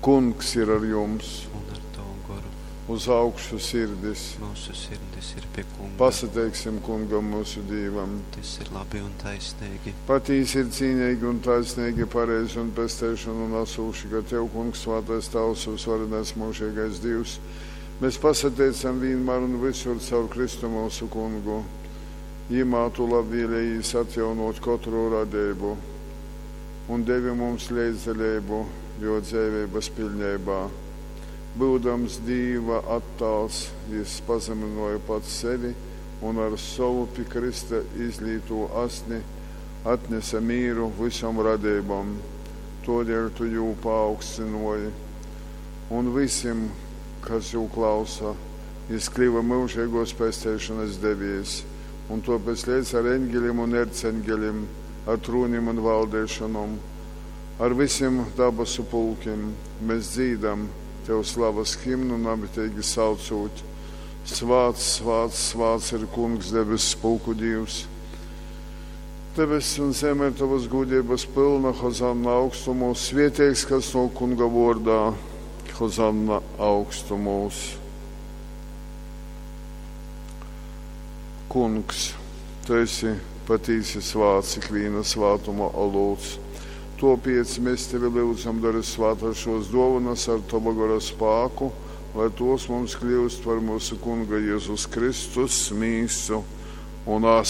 Kungs ir ar jums! Un ar tavu goru. Uz augšu sirdis! Mūsu sirdis ir pie Kunga. Pasateiksim Kungam mūsu Dīvam! Tas ir labi un taisnīgi. Patīsi ir cīnīgi un taisnīgi, pareizi un pesteišanu nesūši, ka Tev, Kungs, svētais Tavs, visvarenais mūžīgais Dievs, mēs pasateicam vienmēr un visur caur Kristu mūsu Kungu. Jimā tu labvēlējies atjaunot katru radību un devi mums līdzdalību jo dzīvības pilnībā. Būdams Dīva attāls, jis pazemināja pats sevi un ar savu pie Krista izlīto asni atnesa mīru visam radībam. Todēļ tu jū paaugstināji un visiem, kas jū klausa, jis kļuva mūžīgos pesteišanas devējs, un tāpēc līdz ar eņģeļiem un erceņģeļiem, ar trūnim un valdēšanom, ar visiem dabasu pulkiem mēs dzīdam Tev slavas himnu namitīgi saucot. Svāts, svāts, svāts ir Kungs debesu pulku Dievs. Debesis un zeme ir tavas gudrības pilna, Hozanna augstumos, svētīgs, kas no Kunga vārdā, Hozanna augstumos. Kungs, tu esi patīsi svāts, ikviena svātuma olūts. Topiec mēs tevi lūdzam, dari svētā šos dovanas ar tava gara spāku, lai tos mums kļūst par mūsu Kunga Jēzus Kristus mīsu un asni.